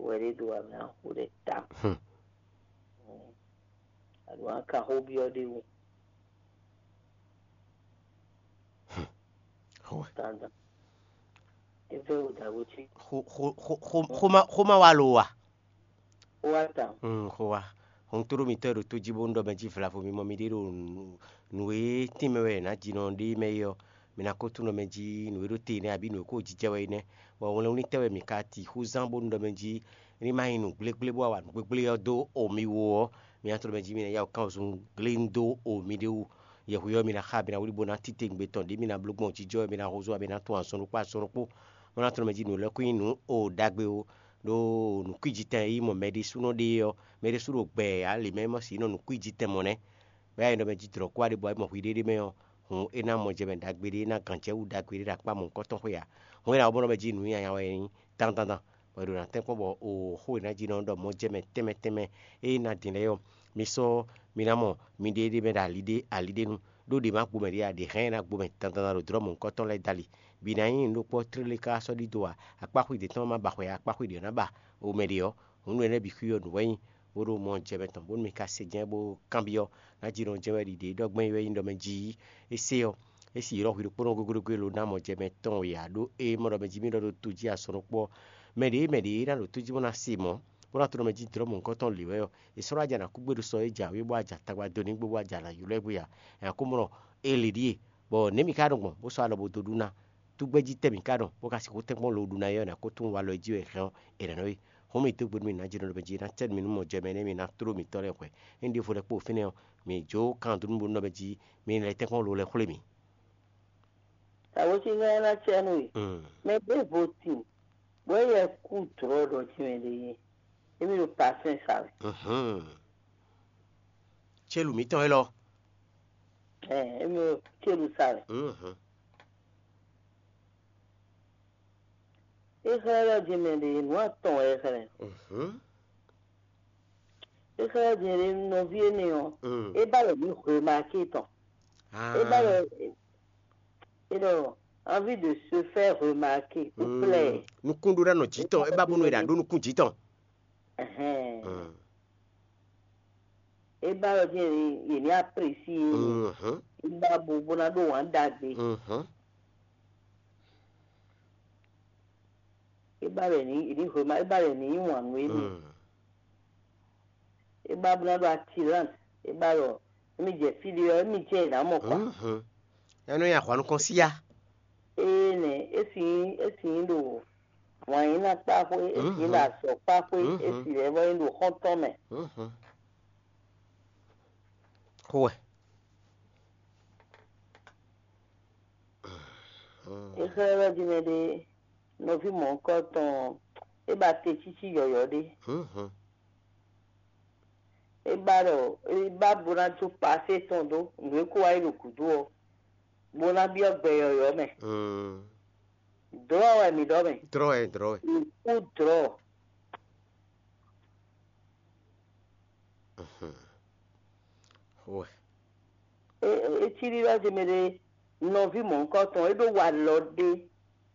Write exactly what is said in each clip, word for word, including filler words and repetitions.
wɛ ɖé ɖo amɛ axo ɖe ta. Aɖu aka xó byɔ́ ɖé wú. Xó wɛ. Dandan. Eve wo da wo ci. Xó xó xó xó xó ma xó ma wa lo wa. Xó wa ta. Mm, xó wa. Hun tló mitɔ́ e ɖo tó jí bónú ɖɔ mɛ jí vlavo mi mɔ mi ɖé ɖo nǔ e tínmɛ wɛ è nǎ ji nɔ ɖé mɛ é ɔ́, mi ná ko tunwun ɖɔ mɛ jí nǔ e ɖo te nɛ́ abǐ nǔ e ko jijɛ wɛ é nɛ́. Bɔ wlɛnwlítɛ́ wɛ mǐ ka ti xú zán bónú ɖɔ mɛ jí ní ma nyí nǔ gblégblé bó wá wa nǔ gblégblé ɔ́ dó o mi wú ɔ́, mi ná tló mɛ jí mi ná yá wǔ kán wǔzun gléŋ dó o mi ɖé wú. Yɛhweyi ɔ́, mi ná xa, mi ná wlí bó ná títewungbe tɔn ɖě mi ná bló gbɔn jijɔ wɛ, mi ná húzú wɛ, mi ná tunwun azɔn ɖokpó azɔn ɖokpó, bó ná tló mɛ jí nǔ lɛ́ kún nyí nǔ o ɖagbe ó. Ɖó nǔkwíjitɛn e yí mɔ mɛ ɖésúnɔ ɖe é ɔ́, mɛ ɖésú ɖo gbɛ ǎ, lě mɛ é mɔ sǐ nɔ nǔkwíjitɛn mɔ nɛ́. Bɔ é nyí ɖɔ mɛ jí dlɔ̌ kú wá ɖe bɔ é mɔ hwi ɖéɖé mɛ ɔ́, hǔn é ná mɔ jɛ mɛ ɖagbe ɖé, é ná gǎn jɛ wú ɖagbe ɖé ɖo akpá mɔ̌hunkɔtɔn xwé ǎ. Hǔn é ná wá bó nɔ mɛ jí nǔnyinyanya wɛ é nyí dandandan, bɔ è ɖo ná tɛ́n kpɔ́n bɔ o xó e ná jí nɔ ɖɔ mɔjɛmɛ tɛnmɛ tɛnmɛ e ná din lɛ́ɛ ɔ́, mi sɔ́ mi ná mɔ miɖée ɖé mɛ ɖo ali ɖé ali ɖé nu, ɖó ɖě ma gbo mɛ ɖě ǎ, ɖě hɛn ná gbo mɛ dandandan ɖo dlɔ̌ mɔ̌hunkɔtɔn lɛ́ɛ dali. Bǐ ná nyí nǔɖokpɔ́ tlélé ká sɔ́ ɖidó ǎ, akpáxwé ɖě tɔn ma ba xwɛ ǎ, akpáxwé ɖě ná ba omɛ ɖě ɔ́, hǔn nú énɛ́ bǐ xwí ɔ́ nǔ wɛ nyí, bó ɖo mɔ jɛ mɛ tɔn, bónú mi ka se jɛ́n bó kanbyɔ́, ná jí nɔ jɛ́n wɛ ɖiɖe ɖɔ gbɛ́n é wɛ nyí ɖɔ mɛ jí é se ɔ́, é sì ylɔ́ hwi ɖokpónɔ gúgúɖógú e lo ná mɔ jɛ mɛ tɔn e ǎ, ɖó é mɔ ɖɔ mɛ jí mì ɖɔ ɖo to jí asɔnukpɔ́ ɔ́, mɛ ɖě mɛ ɖě ná ɖo tó jí bó ná se mɔ̌, bó ná to nɔ mɛ jí dlɔ̌ mɔ̌hunkɔtɔn lě wɛ ɔ́, è sɔ́ ɖó aja ná kú gbé ɖo sɔ é jǎwe bó aja tagba dó ní gbé bó aja ná ylɔ́ ɛ gbé ǎ. Nya kó mɔ ɖɔ é lě ɖíe, bɔ nɛ̌ mi ka ɖo gbɔn bó sɔ́ alɔ bó dó ɖu ná? Túgbɛ́jí tɛ́ mǐ ka ɖɔ bó ka sixú tɛ́nkpɔ́n lo ɖu ná é ɔ́, nǎ ko tunwun walɔ e jí wɛ è hɛn ɔ́, è nǎ nɔ é. Hǔn mǐ dó gbe nú mǐ ná jɛ nɔ ɖɔ mɛ jí ná cɛ́ nú mǐ nú mɔ jɛ mɛ énɛ́ mǐ ná tló mǐtɔn lɛ́ɛ hwɛ̌. Ényí ɖěvo lɛ́ɛ kpó fínɛ́ ɔ́, mǐ jó kan dó nú bó nú ɖɔ mɛ jí mi lɛ́ tɛ́nkpɔ́n lo lɛ́ xwlé mǐ. Tawǒsíngán ná cɛ́ nú we. Mm. Mɛ ɖěvo tin, bɔ é yɛ kú dlɔ̌ ɖɔ jí mɛ ɖé yé. Émí ɖo pasɛn sa wɛ. Mhm. Célu mǐtɔn élɔ́. Ɛ, émí ɖo célu sa wɛ. Mhm. É xlɛ́ ɖɔ jí mɛ ɖé nǔ atɔn wɛ é xlɛ́. Mhm. É xlɛ́ jí ɖé nɔví énɛ́ ɔ́, Mm. É ba lɛ mǐ remarqué tɔn. Ah. É ba lɛ é ɖɔ envie de se faire remarquer ou Mm. plaire. Nukún ɖó ná nɔ jí tɔn, é ba bónú é ɖa ɖó nukún jí tɔn. Ɛhɛn. Mm. É ba lɔ jí yě ní apprécier. Mhm. É ba bo bó ná ɖó wǎn ɖagbe. Mhm. É ba lɛ ní yě ní remarqué, é ba lɛ ní yí wǎn nú émí. Mm. É ba bó ná ɖó attirance, é ba ɖɔ émí jɛ fí ɖé ɔ́, émí jɛ yě ná mɔ kɔ. Mhm. Ɛnú ya hwanu kɔn sí ya. Ée nɛ, é sì nyí é sì nyí ɖo wǎn yí ná kpá xwé, é sì nyí ɖo azɔ̌ kpá xwé, é sì lɛ́ vɔ nyí ɖo xɔ́ntɔn mɛ. Mhm. Xó wɛ. É xlɛ́ ɖɔ jí mɛ ɖé nɔví mɔ̌hunkɔtɔn ɔ́, é ba te cící yɔ̌yɔ́ ɖé. Mhm. É ba ɖɔ é ba bó ná jó pasé tɔn dó nǔ e kó wá yi ɖo gǔdo ɔ́, bó ná byɔ́ gbɛ yɔ̌yɔ́ mɛ. Mm. Dlɔ̌ wɛ mǐ ɖɔ mɛ. Dlɔ̌ wɛ, dlɔ̌ wɛ. Mǐ kú dlɔ̌. Mhm. Xó wɛ. É é cí ɖiɖɔ ce mɛ ɖé nɔví mɔ̌hunkɔtɔn, é ɖó walɔ ɖé,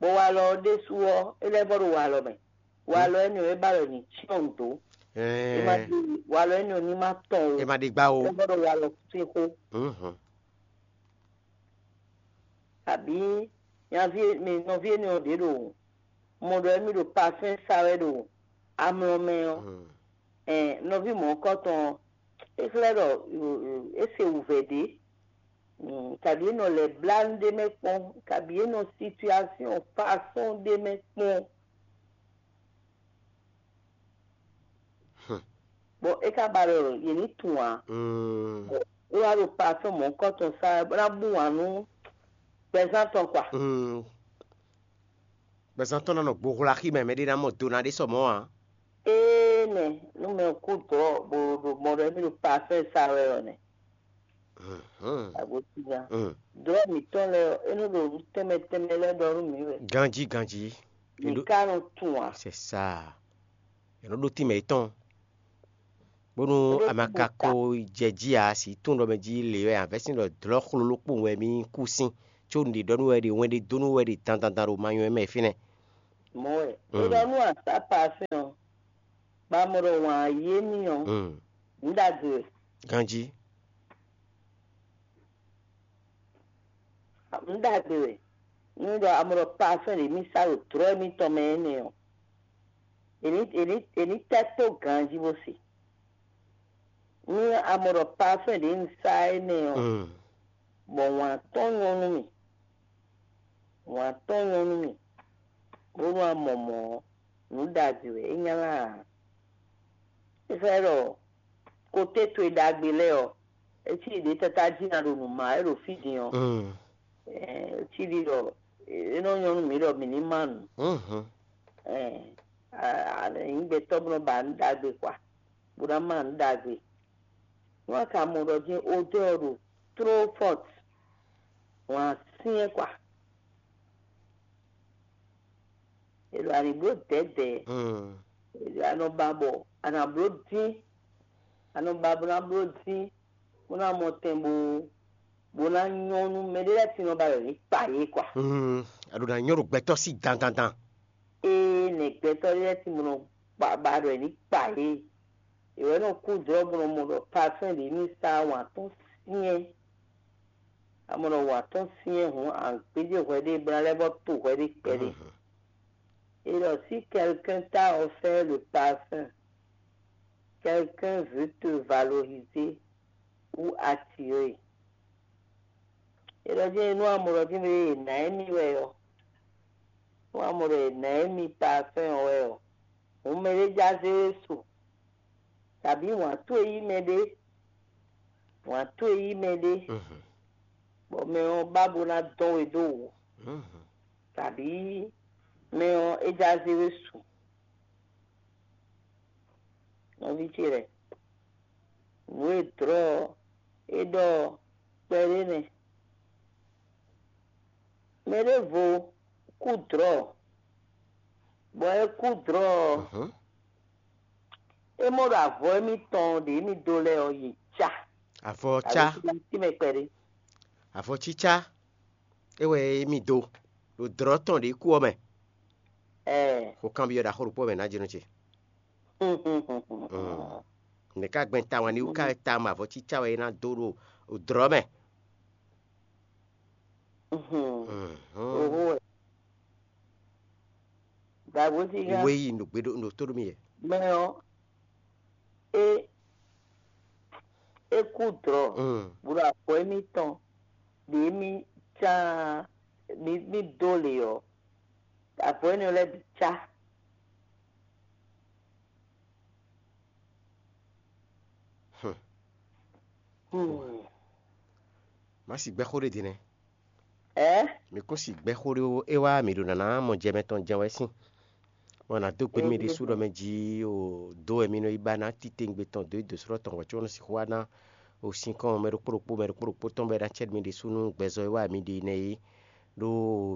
bɔ walɔ ɔ́ ɖésú ɔ́, é lɛ́ vɔ ɖo walɔ mɛ. Walɔ énɛ́ ɔ́, é ba ɖɔ ní cyɔ́n dó. É ma Ɛɛ, ɖi walɔ énɛ́ ɔ́ ní ma tɔn o. É ma ɖi gbá o. É lɛ́ vɔ ɖo walɔ sín xó. Mhm. Abǐ nyaví mi nɔví énɛ́ ɔ́ ɖě ɖo mɔ ɖɔ émí ɖo pasɛ́n sa wɛ ɖo amlɔ mɛ ɔ́. Mhm. Ɛn nɔví mɔ̌hunkɔtɔn ɔ́, é xlɛ́ ɖɔ é se wǔvɛ́ ɖé. Mm, kabi é nɔ lɛ̌ blá nú ɖé mɛ kpɔ́n, kabi é nɔ situation façon ɖé mɛ kpɔ́n. Bɔ é ka ba ɖɔ yě ní tunwun ǎ. Mm. Bɔ é wá ɖo pasɔn mɔ̌hunkɔtɔn sa wɛ bó ná bú wǎn nú gbɛzán tɔn kpa. Mm. Gbɛzán tɔn ná nɔ gbohwla xí mɛ, mɛɖé ná mɔ do ná ɖé sɔ mɔ̌ ǎ. Énɛ́, nú mɛ kú dɔ̌ bó ɖo mɔ ɖɔ émí ɖo pasɔn e sa wɛ ɔ́ nɛ́. Mhm. Agosígan. Mm. Dɔ̌ mǐtɔn lɛ́ɛ ɔ́, é nɔ ɖo nǔ tɛnmɛ tɛnmɛ lɛ́ɛ ɖɔ nú mǐ wɛ. Ganjí, ganjí. Mǐ ka nɔ tunwun ǎ. C'est ça. È nɔ ɖó tínmɛ yětɔn. Bónú a ma ka ko jɛ jí ǎ, si tunwun ɖɔ mɛ jí le wɛ a vɛ́ sín ɖɔ dlɔ̌ xloló kpowun wɛ mì kú sín, có un ɖi ɖɔ nú wɛ ɖi wɛn ɖé dó nú wɛ ɖi dandandan ɖo ma nyɔ́ mɛ fínɛ́. Mɔ̌ wɛ. Mm. É ɖɔ nú asá parfɛ́n ɔ́, Bɔ a mɔ ɖɔ wǎn yí émí ɔ́, nǔ ɖagbe wɛ. Ganjí. Nǔ ɖagbe wɛ. Nú ɖɔ a mɔ ɖɔ parfɛn ɖě mì sa ɖo dlɔ̌ émítɔn mɛ énɛ́ ɔ́, è nǐ è nǐ è nǐ tɛ́ tó ganjí bó se. Nú a mɔ ɖɔ parfɛn ɖě un sa énɛ́ ɔ́, bɔ wǎn tɔn nyɔ́ nú mì, wǎn tɔn nyɔ́ nú mì, bónú a mɔ mɔ̌ ɔ́, nǔ ɖagbe wɛ é nylá ǎ. É xlɛ́ ɖɔ koté towe ɖagbe lɛ́ɛ ɔ́, é cí ɖě káká jí ná ɖo nǔ má wɛ ɖo fí din ɔ́, é cí ɖi ɖɔ é nɔ nyɔ́ nú mǐ ɖɔ mǐ ní má nǔ. Nyǐ gbɛtɔ́ bó nɔ ba nǔ ɖagbe xwa, bó ná má nǔ ɖagbe. Nú a ka mɔ ɖɔ jɛ́n odɛ́ ɔ́ ɖo tló fɔ́t, wǎn syɛ́n xwa. È ɖo a nǐ bló dɛ̌dɛ̌. È ɖo a nɔ ba bɔ a nǎ bló dín, a nɔ ba bó ná bló dín, bó ná mɔ tɛn bó bó ná nyɔ́ nú mɛɖé lɛ́ɛ sin nɔ ba wɛ ní kpa yě kwa. A ɖo ná nyɔ́ ɖo gbɛtɔ́ sí dandandan. Ée nɛ̌ gbɛtɔ́ lɛ́ɛ sin bó nɔ ba ba ɖɔ wɛ ní kpa yě. È wɛ nɔ kú dlɔ́ bó nɔ mɔ ɖɔ parfɛn ɖě ní sa wǎn tɔn syɛ́n. A mɔ ɖɔ wǎn tɔn syɛ́n hǔn a gbéjé hwɛ ɖé bó ná lɛ́ vɔ́ to hwɛ ɖé kpɛɖé. Et alors, si quelqu'un t'a offert le parfum, quelqu'un veut te valoriser ou attirer. Et alors, je nous amorodi me na emi wɛ ɔ. Nous amorodi na emi parfum wɛ ɔ. Húnmɛ ɖé jazé wɛ su. Tàbí wǎn towe yí mɛ ɖé. Wǎn towe yí mɛ ɖé. Bɔ mɛ ɔ́ ba bó ná dɔn we dó wǔ. Tàbí mɛ ɔ́ é já zé we su. Nɔví ce lɛ́ɛ, nǔ e dlɔ̌ ɔ́ é ɖɔ ɔ́ kpɛɖé nɛ́. Mɛ ɖěvo kú dlɔ̌, bɔ é kú dlɔ̌ ɔ́, é mɔ ɖo avɔ émítɔn ɖě mì dó lɛ́ɛ ɔ́, yě cá. Avɔ cá. Tínmɛ kpɛɖé. Avɔ cícá é wɛ émí dó ɖo dlɔ̌ tɔn ɖě kú ɔ́ mɛ. Xo kanbyɔ́ ɖaxó ɖokpó mɛ nǎ jínú ce. Nɛ̌ ká gbɛn tawun ní wú ká ta mɔ avɔ cícá wɛ é ná dó ɖo dlɔ̌ mɛ? Wé yi ɖo gbeɖo ɖo tó ɖo mì yɛ. Mɛ ɔ́, é é kú dlɔ̌, bó ɖo avɔ émítɔn ɖě mì cá mì mì dó lě ɔ́, avɔ énɛ́ lɛ́ɛ bǐ cá. Má si gbɛ́ xó ɖé din nɛ́. Ɛ? Mi kún si gbɛ́ xó ɖé ó, é wá mǐ ɖo nǎná mɔ jɛ mɛ tɔn jɛ́n wɛ sín. Bɔ nǎ dó gbe nú mì ɖésú ɖɔ mɛ jí o dó wɛ mi nɔ yi ba ná titewungbe tɔn dó yi dǒsrɔ́ tɔn hwɛ̌ có nɔ sixú wá ná o sinkɔn mɛ ɖokpó ɖokpó mɛ ɖokpó ɖokpó tɔn bɔ é ná cɛ́ mi ɖésú nú gbɛzɔ́ e wá mi ɖe nɛ́ é. Ɖó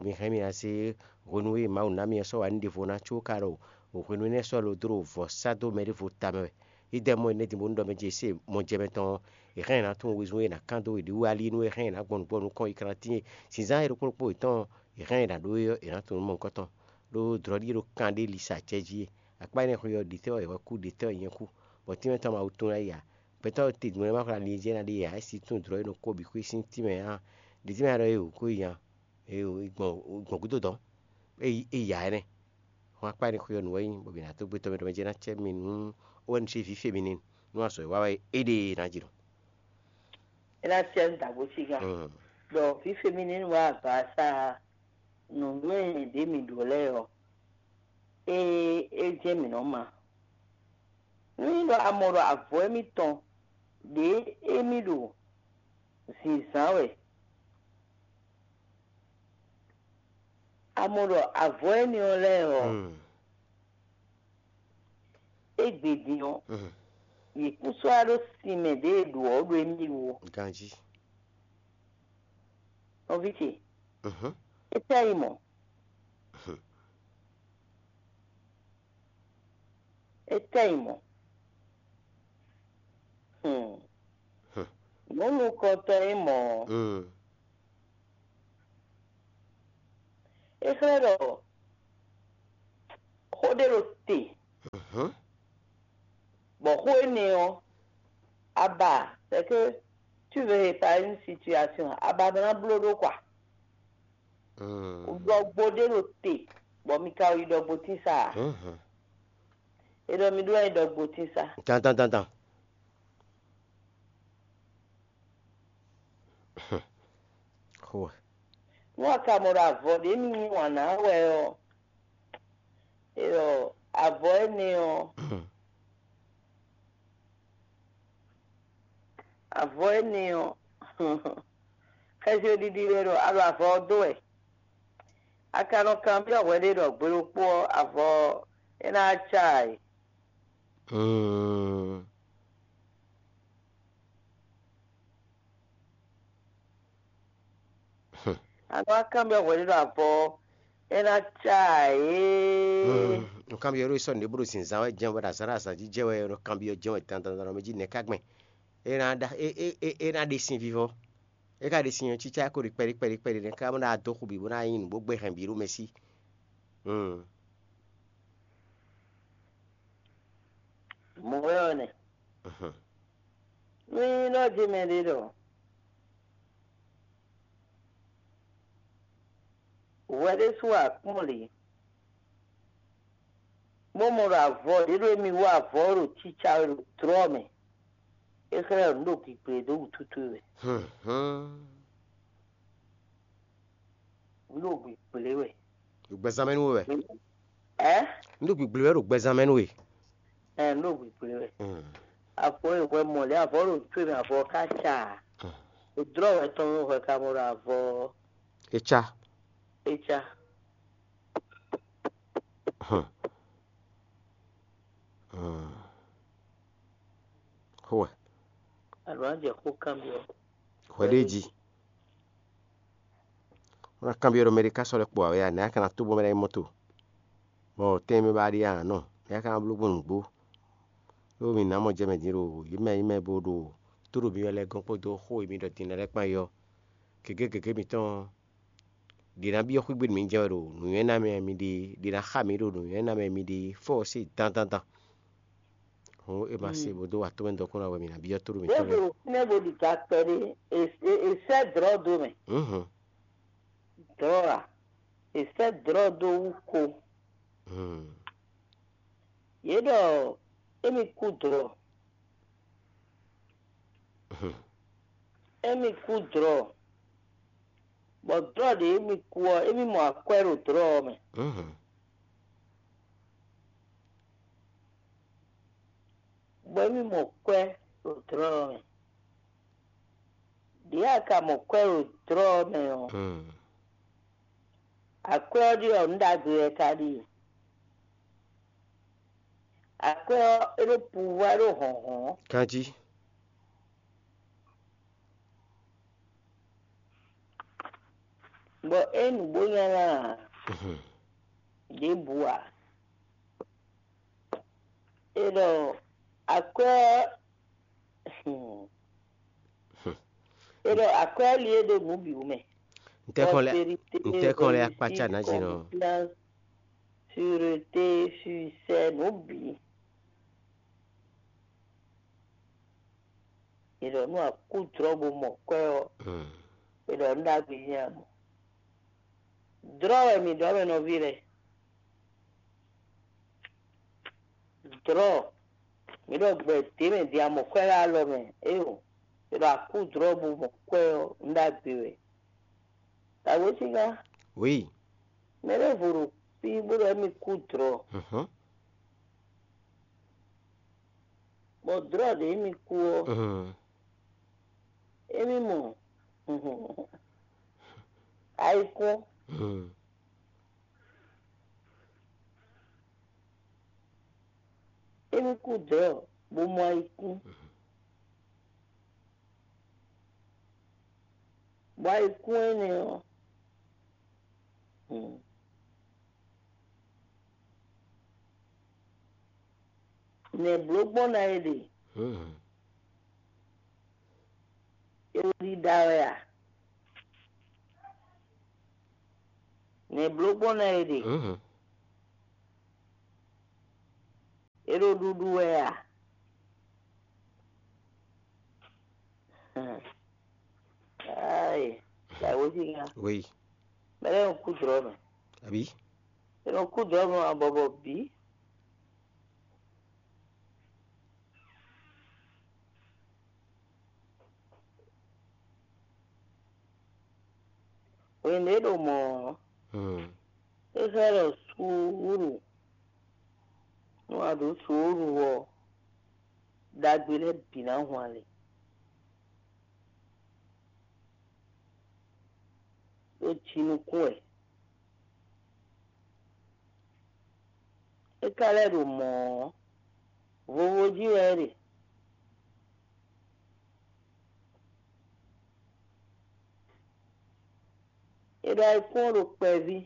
mi hɛn mì ná zé hwenu e Mawu ná mi ɔ́ sɔ́ wǎ nú ɖěvo ná có ka ɖo hwenu énɛ́ sɔ́ lo dó ɖo vɔ̌ sá dó mɛ ɖěvo tamɛ wɛ. Yi dɛ mɔ énɛ́ din bónú ɖɔ mɛ ce se mɔ jɛ mɛ tɔn ɔ́, è hɛn ɛ ná tunwun wezun e è nǎ kán dó we ɖě wú alí nú é hɛn ɛ ná gbɔn nǔgbó nukɔn yi kantín e zǐnzán e ɖokpó ɖokpó yětɔn ɔ́, è hɛn ɛ ná ɖó é ɔ́, è nǎ tunwun nú mɔ̌hunkɔtɔn. Ɖó dlɔ̌ ɖíe ɖo kan ɖé lisa acɛ jí e. Akpá énɛ́ xwe ɔ́, ɖětɛ́ wɛ è wɛ kú, ɖětɛ́ wɛ nyɛ kú, bɔ tínmɛ tɔn ma wú tunwun ná yi ǎ. Gbɛtɔ́ te dun ɔ́ ma xwlá ali e jɛ ná ɖe ǎ, é si tunwun dlɔ̌ e nɔ kó bǐ xwé sín tínmɛ ǎ. Ɖě tínmɛ ɔ́ ɖɔ é wǔ kó yi nya, é gbɔn gbɔn gúdo dɔn, é yi é yi ǎ énɛ́. Hɔn akpá énɛ́ xwe ɔ́ nǔ wɛ nyí, bɔ mǐ ná dó gbé tɔn mɛ ɖɔ mɛ jɛ ná cɛ mi nú ó wɛ nu ce vǐ fe mi n'i, nú azɔ̌ e wa wɛ é ɖe ná jló. É ná cɛ nú dǎgbó cígán. Ɖɔ fífé mi ní wá agbaasa nǔnywɛ́ ɖě mǐ ɖǒ lɛ́ɛ ɔ́, é é jɛ́n mǐ nɔ́ ma. Nú nyí ɖɔ a mɔ ɖɔ avɔ émítɔn ɖě émí ɖo zǐnzán wɛ, a mɔ ɖɔ avɔ énɛ́ ɔ́ lɛ́ɛ ɔ́, égbé din ɔ́, yě kún sɔ́ wá ɖó sin mɛ ɖě e ɖǒ ɔ́ ɖo émí wú ó. Ganjí. Nɔví ce, étɛ́ yi mɔ̌? Étɛ́ yi mɔ̌? Hmm. Nǔ nukɔntɔn e mɔ̌ ɔ́, é xlɛ́ ɖɔ xó ɖé ɖo te. ɔ́, aba, c'est que tu veux réparer une situation, aba ná bló ɖó kwa. Ɖɔgbo ɖé ɖo te, bɔ mi ka yi ɖɔgbotín sa a? É ɖɔ mi ɖó wɛ nyí ɖɔgbotín sa. Dandan dandan. Xo. Nú a ka mɔ ɖo avɔ ɖě mi yí wǎn ná wɛ ɔ́, é ɖɔ avɔ énɛ́ ɔ́, avɔ énɛ́ ɔ́, xɛsi ɖiɖi wɛ ɖɔ a ɖo avɔ ɔ́ dó wɛ. A ka nɔ kanbyɔ́ hwɛ ɖé ɖɔ gbe ɖokpó ɔ́, avɔ ɔ́, é ná cá ǎ é. A nɔ wá kanbyɔ́ hwɛ ɖé ɖo avɔ ɔ́, é ná cá ǎ é. Un kanbyɔ́ ɖó sɔ́ nǔɖé bó ɖo zǐnzán wɛ jɛ́n wɛ, ɖo azǎn ɖo azǎn jí jɛ́n wɛ, un nɔ kanbyɔ́ jɛ́n wɛ dandan ɖɔ mɛ jí nɛ̌ ká gbɛn? É ná ɖa é é é é ná ɖe sin vivɔ. É ka ɖe sin ɔ́, cícá ko ɖi kpɛɖí kpɛɖí kpɛɖí nɛ́ ká bó ná dó xu bǐ bó ná nyí nǔ bó gbé hɛn bǐ ɖó mɛ sí. Mɔ̌ wɛ ɔ́ nɛ. Nú nyí nɔ jí mɛ ɖé ɖɔ hwɛ ɖésú akpɔ́n lě, bó mɔ ɖɔ avɔ ɖě ɖo émí wú avɔ ɔ́ ɖo cícá wɛ ɖo dlɔ́ mɛ, é xlɛ́ ɖɔ nǔ ɖo gǐgblé dó wútútú wɛ. Nǔ ɖo gǐgblé wɛ. Ɖo gbɛzán mɛ nú we wɛ. Ɛ? Nǔ ɖo gǐgblé wɛ ɖo gbɛzán mɛ nú we. Ɛ, nǔ ɖo gǐgblé wɛ. Avɔ e hwɛ mɔ lě avɔ ɖo tó mɛ avɔ ká ca. Dlɔ́ wɛ tɔn mɛ hwɛ ka mɔ ɖo avɔ. É cá. É cá. Xó wɛ. Alɔ á jɛ xó kanbyɔ́. Hwɛ ɖé jí. Wọ́n ná kanbyɔ́ ɖɔ mɛ ɖé ká sɔ́ lɛ́ kpo ǎ wɛ a, nɛ̌ a ka ná tó bɔ mɛ lɛ́ɛ nyí mɔ́to? Bɔ tɛ́nmɛ ba ɖíe a nǎ nɔ, nɛ̌ a ka ná bló gbɔn nǔgbó? Ɖó mi nǎ mɔ jɛ mɛ din ɖo yě mɛ e nyí mɛ bo ɖo tó ɖo mi wɛ lɛ́ɛ gɔ́n kpódó xó e mi ɖɔ din lɛ́ɛ kpán é ɔ́, gěgé gěgé mitɔn ɔ́, ɖě ná byɔ́ xwígbe nú mi jɛ wɛ ɖo nǔnywɛ́ ná mɛ mi ɖe, ɖě ná xa mi ɖo nǔnywɛ́ ná mɛ mi ɖe fɔ́ ɔ́ se dandandan. Hǔn è ma se bó dó wa tɔ́mɛ dɔkun ná wɛ mǐ ná byɔ́ tóɖó mǐtɔn lɛ́ɛ. Ɖěvo fínɛ́ bo ɖi ga kpɛɖé, è sɛ́ dlɔ̌ dó mɛ. Dlɔ̌ a? È sɛ́ dlɔ̌ dó wú ko. Yě ɖɔ émí kú dlɔ̌. Émí kú dlɔ̌. Bɔ dlɔ̌ ɖě émí kú ɔ́, émí mɔ akwɛ́ ɖo dlɔ̌ ɔ́ mɛ. Bɔ émí mɔ kwɛ́ ɖo dlɔ̌ ɔ́ mɛ. Ɖě a ka mɔ kwɛ́ ɖo dlɔ̌ ɔ́ mɛ ɔ́, akwɛ́ ɔ́ ɖíe ɔ́, nǔ ɖagbe wɛ ka ɖíe. Akwɛ́ ɔ́, é ɖó puvwá, é ɖó hlɔ̌nhlɔ́n. Kanjí. Bɔ é nǔgbó nyanya ǎ. Ɖěbǔ ǎ. É ɖɔ akwɛ́ ɔ́, é ɖɔ akwɛ́ ɔ́ li é ɖó nǔ bǐ wú mɛ. Ntɛ́kɔn lɛ́ Prospérité, ntɛ́kɔn lɛ́ akpácá réussite, nǎ jǐ nɔ. Confiance, sûreté, succès, nǔ bǐ. È ɖɔ nú a kú dlɔ̌ bó mɔ kwɛ́ ɔ́, è ɖɔ nǔ ɖagbe nyí a mɔ. Dlɔ̌ wɛ mǐ ɖɔ mɛ nɔví lɛ́ɛ. Dlɔ̌, mǐ ɖɔ gbɛ dě mɛ din a mɔ kwɛ́ ɖo alɔ mɛ, éyo, è ɖɔ a kú dlɔ̌ bó mɔ kwɛ́ ɔ́, nǔ ɖagbe wɛ. Dǎwe sígá, Oui. Mɛ ɖěvo ɖo fí bó ɖɔ émí kú dlɔ̌. Mhm. Bɔ dlɔ̌ ɖě émí kú ɔ́, Mhm. émí mɔ ayikún. Mhm. Émí kú dlɔ̌ bó mɔ ayikún. Bɔ ayikún énɛ́ ɔ́, hmm, nɛ̌ bló gbɔn ná é ɖe? Hmm. É wɛ ɖíɖá wɛ a? Nɛ̌ bló gbɔn ná é ɖe? Hmm. É ɖo ɖuɖu wɛ a? Ayi, la wo jí nya. Oui. Mɛ lɛ kú drɔ mɛ. Abi. Eno kú drɔ mɛ abɔbɔ bí. Wěnde ɖo mɔ̌ ɔ́, Hmm. É xlɛ́ ɖɔ suúlu, nú a ɖǒ suúlu ɔ́, ɖagbe lɛ́ɛ bǐ ná hwan lě. Ɖó jinukún wɛ. É ka lɛ́ ɖo mɔ̌ ɔ́, vovo jí wɛ é ɖe. È ɖo ayikún ɔ́ ɖo kpɛví,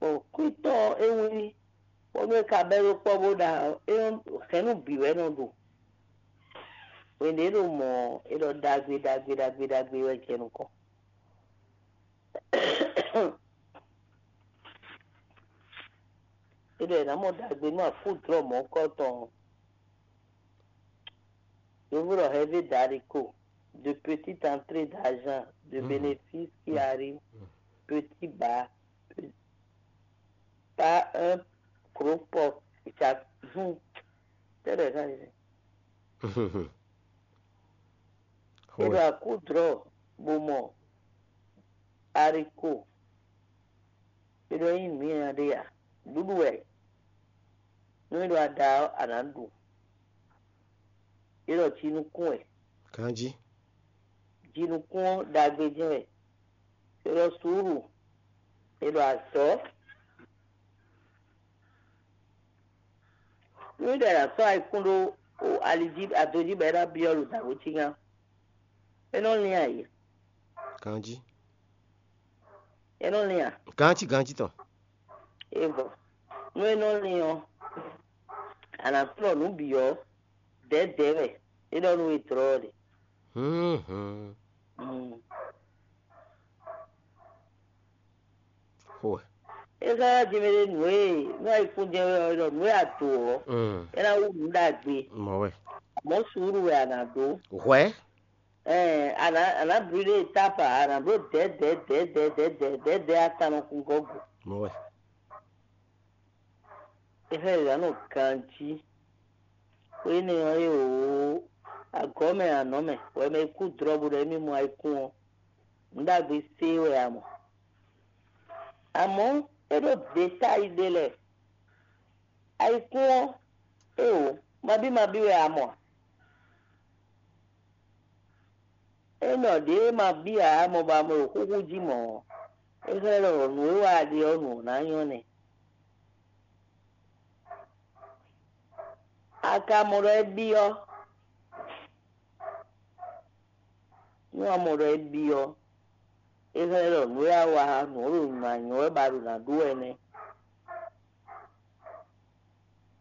bɔ kwítɔ́ ɔ́ é wlí, bónú é ka bɛ́ ɖó kpɔ́ bó ɖa ɔ́, é nɔ hɛ̌nnu bǐ wɛ é nɔ ɖo. Hwenu e é ɖo mɔ̌ ɔ́, é ɖɔ ɖagbe ɖagbe ɖagbe ɖagbe wɛ jɛ nukɔn. É ɖɔ è nǎ mɔ ɖagbe nú afúdlɔ́ mɔ̌kɔ́ tɔn ɔ́. Yovó ɖɔ heavy dariko, de petite entrée d'argent, de bénéfice qui arrive petit bas, pas un gros porc. Tɛ́ ɖɔ è ká ɖe? È ɖo akúdlɔ́ bo mɔ ariko. È ɖɔ nyí nǔ nyanya ɖé a? Ɖuɖu wɛ. Nú é ɖo ada ɔ́, a nǎ ɖu. É ɖɔ jinukún wɛ. Ganjí. Jinukún ɔ́ ɖagbe jɛ́n wɛ. É ɖɔ suúlu. É ɖɔ azɔ̌. Nú é ɖɔ è nǎ sɔ́ ayikún ɖó ali jí, ado jí bɔ é ná byɔ́ ɖo dǎwe cí gán. É nɔ lín ayǐ. Ganjí. É nɔ lín a? Ganjí, ganjí tɔn. É vɔ. Nú é nɔ lín ɔ́, a nǎ flɔ́ nǔ bǐ ɔ́, dɛ̌dɛ̌ wɛ. É ɖɔ nú we dlɔ́ ɔ́ ɖe. Hlún. Mm. Xo wɛ. É xlɛ́ ná jɛ mɛ ɖé nǔ e nú ayikún jɛ́n wɛ ɔ́, é ɖɔ nǔ e a do ɔ́, Mm. É ná wú nǔ ɖagbe. Mɔ̌ wɛ. Amɔ̌ suúlu wɛ a nǎ ɖó. Hwɛ̌. Ɛɛ, a nǎ a nǎ bli ɖé etapa, a nǎ bló dɛ̌dɛ̌ dɛ̌dɛ̌ dɛ̌dɛ̌ dɛ̌dɛ̌ atannɔkungɔ́ go. Mɔ̌ wɛ. É xlɛ́ ɖě ná nɔ ganjí. Xó énɛ́ ɔ́ é wǒ agɔ̌ mɛ anɔ̌ mɛ, wɛ mɛ e kú dlɔ̌ bó ɖɔ émí mɔ ayikún ɔ́, nǔ ɖagbe sé wɛ a mɔ. Amɔ̌, é ɖó detáyi ɖé lɛ́ɛ. Ayikún ɔ́, é wǒ, mabí mabí wɛ a mɔ a? É nɔ ɖě e ma bíá ǎ mɔ bɔ a mɔ ɖo xúxú jí mɔ̌ ɔ́, é xlɛ́ ɖɔ nǔ e wa a ɖe ɔ́ nǔ ɔ́ ná nyɔ́ nɛ́. A ka mɔ ɖɔ é byɔ́? Nú a mɔ ɖɔ é byɔ́, é xlɛ́ ɖɔ nǔ e a wa nǔ ɔ́ ɖo nǔ ná nyɔ́ wɛ bɔ a ɖo nǎ ɖu wɛ nɛ́.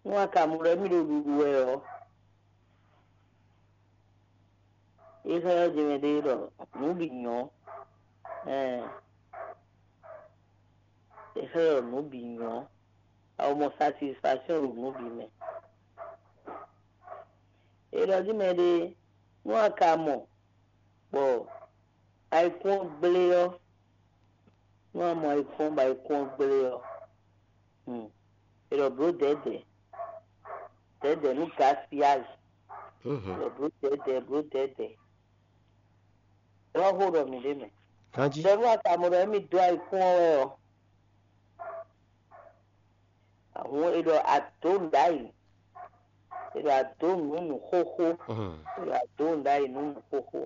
Nú a ka mɔ ɖɔ émí ɖo ɖuɖu wɛ ɔ́, é xlɛ́ ɔ́ jɛmɛ ɖé ɖɔ nǔ bǐ nyɔ́. Ɛɛ, é xlɛ́ ɖɔ nǔ bǐ nyɔ́. A ko mɔ satisfaction ɖo nǔ bǐ mɛ. É ɖɔ jí mɛ ɖé, nú a ka mɔ bɔ ayikún ɔ́ gblé ɔ́, nú a mɔ ayikún ɔ́ bɔ ayikún ɔ́ gblé ɔ́, hmm, è ɖɔ blǒ dɛ̌dɛ̌, dɛ̌dɛ̌ nú gaspillage, è ɖɔ blǒ dɛ̌dɛ̌, blǒ dɛ̌dɛ̌. Ɖɔ xó ɖɔ mǐ ɖé mɛ. Ganjí. Ɖɔ nú a ka mɔ ɖɔ émí dó ayikún ɔ́ wɛ ɔ́, ahun è ɖɔ adǒ nǔ ɖ'ayǐ, è ɖɔ adǒ nǔ nǔ xóxó, è ɖɔ adǒ nǔ ɖ'ayǐ nú nǔ xóxó.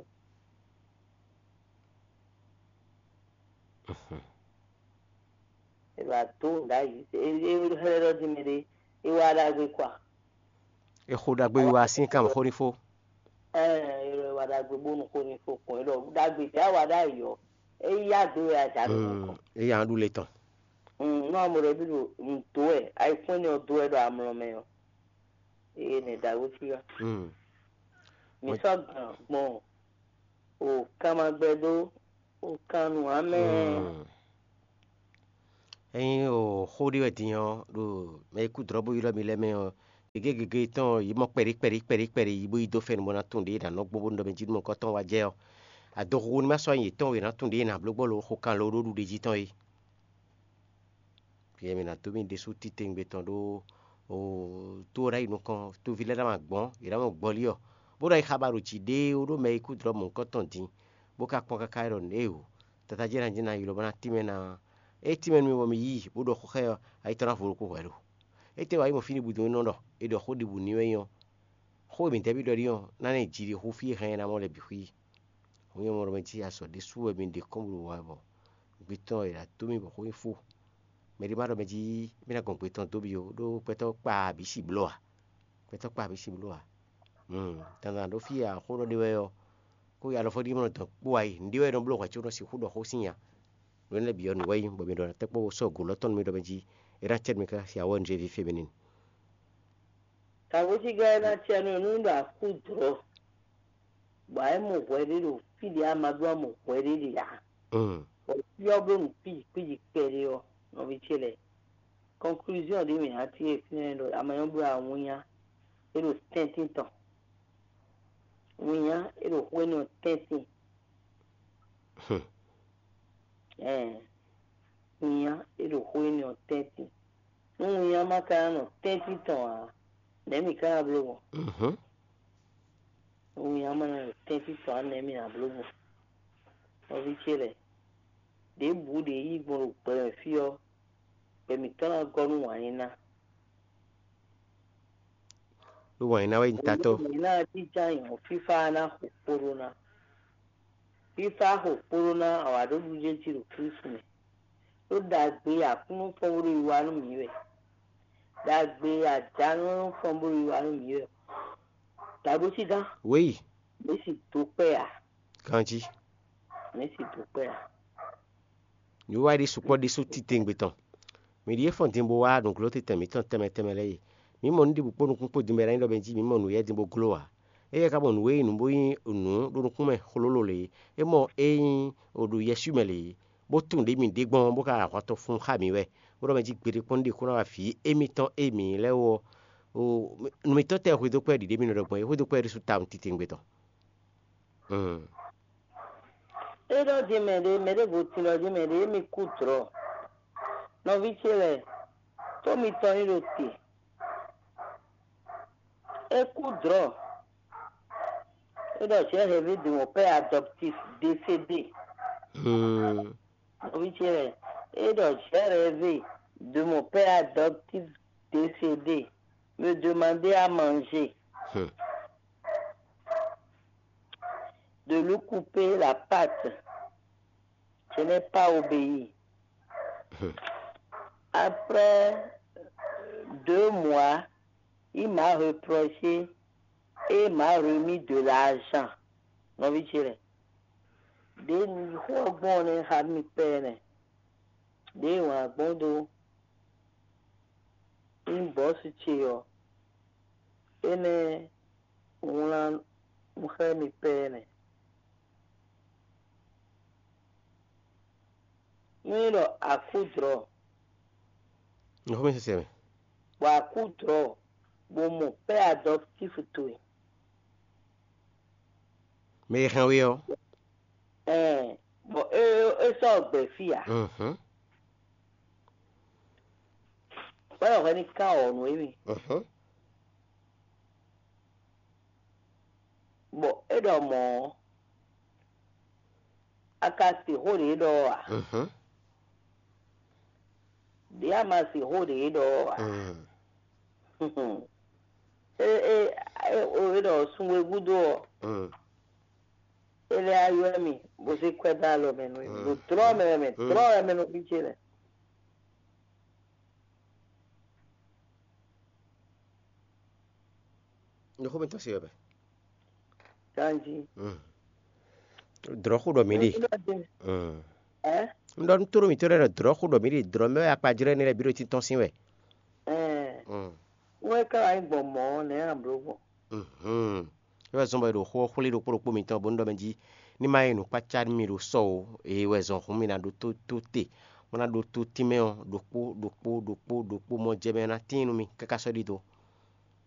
È ɖo adó nǔ ɖ'ayǐ. É é xlɛ́ ɖɔ jí mɛ ɖé, é wá ɖagbe kɔ a? È xo ɖagbe wiwa sín kan xó ní fó. Ɛɛ, è ɖɔ è wá ɖagbe bónú xó ní fó kɔn. É ɖɔ ɖagbe tɛ á wá ɖ'ayǐ ɔ́, é yí adó wɛ a jà ɖo nukɔn. Éyǎ ɖu le tɔn. Mm, nú amɔ ɖɔ bí ɖo nǔ dó wɛ, ayikún énɛ́ ɔ́ dó wɛ ɖo amlɔ mɛ ɔ́, eye nɛ ɖagbe fí wá. Mm. Mǐ sɔ́ gǎn gbɔn o kanmagbɛdó o kannú amɛ. Mm. Ényí o xó ɖé wɛ din ɔ́, ɖo mɛ e kú dlɔ̌ bó ylɔ́ mi lɛ́ɛ mɛ ɔ́, Gěgé gěgé tɔn yě mɔ kpɛɖé kpɛɖé kpɛɖé kpɛɖé yi bó yi dó fɛ́n bó ná tunwun ɖě è nǎ nɔ gbɔn bó nɔ ɖɔ mɛ jí nú mɔ̌hunkɔtɔn wá jɛ ɔ́, adɔxuxu ní ma sɔ́ nyi yětɔn e è nǎ tunwun ɖě è nǎ bló gbɔ lo xo kan lo ɖó ɖuɖe jí tɔn é. Yɛ mɛ ná dó mì ɖésú titewungbe tɔn ɖó to ɔ́ ná yi nukɔn, toví lɛ́ɛ ná ma gbɔn, yě ná mɔ gbɔlí ɔ́, bó ná yi xaba ɖo jǐ ɖéé ó ɖó mɛ e kú dlɔ̌ mɔ̌hunkɔtɔn din, bó ka kpɔ́n káká é ɖɔ nǔ éeǒ, tata jɛ́n ná jɛ́n ná yi lɔ bó ná tínmɛ ná. É tínmɛ nú mì bɔ mi yí i, bó ɖɔ xó xá ɛ ɔ́, ayi tɔn ná vo ɖokpó hwɛ̌ lo. Étɛ́ wá yi mɔ fí ɖěbǔ dɔn é nɔ ɖɔ è ɖɔ xó ɖěbǔ n'i wɛ nyí ɔ́, xó e mǐdɛɛ bí ɖɔ ɖi ɔ́ ná ná yi jiɖixú fí e hɛn ɛ ná mɔ lɛ́ɛ bǐ xwí. Hǔn nyɛ mɔ ɖɔ mɛ jí azɔ̌ ɖésú wɛ mi ɖe kɔn bó ɖo wa bɔ gbɛtɔ́ e ɖo ato mì bɔ xó nyí fó. Mɛ ɖé ma ɖɔ mɛ jí mì ná gɔn gbɛtɔ́ dó bí ó, ɖó gbɛtɔ́ kpa abǐ si bló ǎ. Gbɛtɔ́ kpa abǐ si bló ǎ. Dandan ɖó fí e axó ɖɔ ɖe wɛ ɔ́, kó yi alɔfɔ́ ɖíe mɔ dɔn kpó wá yi, nǔɖé wɛ é nɔ bló hwɛ̌ có nɔ sixú ɖɔ xó sín nya. Nǔ énɛ́ bǐ ɔ́, nǔ wɛ nyí bɔ mi ɖɔ ná tɛ́ kpɔ́n bó sɔ́ gǒ lɔ́ tɔn nú mì ɖɔ mɛ jí é ná cɛ́ nú mi káká sin awɔ́ nǔ e ví fé mɛ n'i. Kǎngojígá e ná cɛ nú nú ɖo akú dlɔ̌, bɔ é mɔ hwɛ ɖé ɖo fí ɖě a ma ɖó a mɔ hwɛ ɖé ɖe ǎ. Bɔ fí ɔ́ bló nǔ kwíji kwíji kpɛɖé ɔ́, nɔví ce lɛ́ɛ, conclusion ɖě mǐ ná cí e fínɛ́ ɖɔ a ma nyɔ́ bló awǐnnya é ɖo tɛ́ntin tɔn. Winnya é ɖo xó énɛ́ ɔ́ tɛ́ntin. Ɛɛ, winnya é ɖo xó énɛ́ ɔ́ tɛ́ntin. Nú winnya ma ka ná nɔ tɛ́ntin tɔn ǎ, nɛ̌ mǐ ka ná bló gbɔn? Nú winnya ma ná nɔ tɛ́ntin tɔn ǎ, nɛ̌ mǐ ná bló gbɔn? Nɔví ce lɛ́ɛ, ɖěbǔ ɖě yí gbɔn ɖo gbɛ mɛ fí ɔ́, gbɛ mǐtɔn ná gɔ́ nú wǎn yí ná. Ɖó wǎn yí ná wɛ nyí tatɔ́. Mǐ ná jínjɔ́n ayǐ ɔ́, fífá ná xo kpo ɖó ná. Fífá xo kpo ɖó ná awǎɖóɖújéjí ɖo Klísu mɛ. Ɖó ɖagbe e Aklúnɔ fɔ́n bó ɖo wiwa nú mǐ wɛ. Ɖagbe e ajǎnú fɔ́n bó ɖo wiwa nú mǐ wɛ. Dǎgbécí gán. Wěyi. Mǐ sì dó kpɛ́ ǎ. Ganjí. Mǐ sì dó kpɛ́ ǎ. Nǔwiwa ɖé sukpɔ́ ɖésú titewungbe tɔn. Mǐ ɖíe fɔ́n din bó wá nǔgló tɛntɛn mǐtɔn tɛnmɛ tɛnmɛ lɛ́ɛ e. Mǐ mɔ nǔɖiɖi kpó nukún kpó din bɔ é ná nyí ɖɔ mɛ jí mǐ mɔ nǔ yɛ́ din bó gló ǎ. Éyɛ́ ka mɔ nǔ e nyí nǔ bó nyí nǔ ɖo nukún mɛ xlólo lě é. É mɔ é nyí ɖo yɛswí mɛ lě é, bó tunwun ɖě mǐ ɖe gbɔn bó ka ahwan tɔn fun xá mǐ wɛ, bó ɖɔ mɛ jí gbeɖé kpɔ́n ɖe xó ná wá vǐ émítɔn e mǐ lɛ́ɛ wú ɔ́. Nǔ mǐtɔn tɛ́ xwedó kpɛ́ ɖiɖě mǐ nɔ ɖɔ gbɔn é, xwedó kpɛ́ ɖésú tawun titewungbe tɔn. É ɖɔ din mɛ ɖé, mɛ ɖěvo tin ɖɔ din mɛ ɖé, émi kú dlɔ̌. Nɔví ce lɛ́ɛ, tó mitɔn nyí ɖo te. É kú dlɔ̌. É ɖɔ j'ai rêvé de mon père adoptif décédé. Nɔví ce lɛ́ɛ, é ɖɔ j'ai rêvé de mon père adoptif décédé. Me demander à manger. De lui couper la patte. Je n'ai pas obéi. Après deux mois, il m'a reproché et m'a remis de l'argent. Nɔví ce lɛ́ɛ, ɖě xó ɔ́ gbɔn ɔ́ nɛ́ xá mi pɛ́ nɛ́. Ɖěe wǎn gbɔn dó inbox ce ɔ́, énɛ́ wlán nú xá mi pɛ́ nɛ́. Nú é ɖɔ a kú dlɔ̌, Nǔxómɛ sɛsɛ mɛ. Bɔ a kú dlɔ̌, bó mɔ pɛ́ adɔptífu towe. Mɛ e hɛn we ɔ́. Ɛɛ, bɔ é é sɔ́ gbɛ fí ǎ. Mhm. Wɛ wɛ ní ká ɔ́ nú émí. Mhm. Bɔ é ɖɔ mɔ̌ ɔ́, a ka sixú ɖě ɖɔ ɔ́ ǎ? Mhm. Ɖě a ma sixú ɖě ɖɔ ɔ́ ǎ? Mhm. É é é o é ɖɔ sunwe gúdo ɔ́, Mhm. É lɛ́ á ylɔ́ mì bó zé kwɛ́ dó alɔ mɛ nú mì, ɖo dlɔ́ mɛ wɛ mɛ, dlɔ́ wɛ mɛ nɔ fí ce lɛ́ɛ. Nǔxómɛtɔ́ se wɛ mɛ. Ganjí. Dlɔ̌xu ɖɔ mǐ ɖe. Ɛ? Un ɖɔ nú tóɖó mǐtɔn lɛ́ɛ ɖɔ dlɔ̌xu ɖɔ mǐ ɖe, dlɔ̌ mɛ wɛ akpajlɛ́ énɛ́ lɛ́ɛ bǐ ɖo títɔ́n sín wɛ. Ɛɛ. Wɛ ká wá nyí gbɔn mɔ̌ nɛ̌ a blǒ gbɔn? É wɛ zɔ́n bɔ è ɖo xó ɔ́ xwlé ɖokpó ɖokpó mitɔn bónú ɖɔ mɛ jí ní ma nyí nǔkpácá nú mi ɖo sɔ ó. É wɛ zɔn hǔn mi ná ɖótó tó te, bó ná ɖótó tínmɛ ɔ́ ɖokpó ɖokpó ɖokpó ɖokpó mɔ jɛ mɛ ná tíin nú mi káká sɔ́ ɖidó.